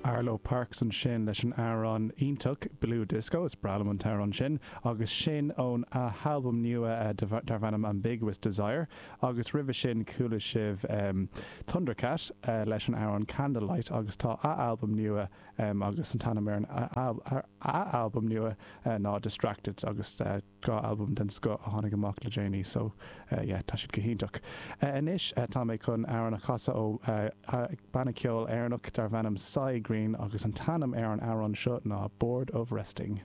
Arlo Parks ansin leis an amhrán iontach Blue Disco, is breá liom an t-amhrán sin, agus sin ón a halbam nua darb ainm Ambiguous Desire, agus roimhe sin chuala sibh Thundercat leis an amhrán Candlelight agus tá a albam nua agus an t-ainm ar an a albam nua ná Distracted agus. 2 albam den scoth a tháinig amach le déanaí so yeah tá siad go hiontach. Anois tá mé chun amhrán a chasadh ó banna ceoil Éireannach darb ainm Si Green agus an t-ainm ar an amhrán seo ná Bored of Resting.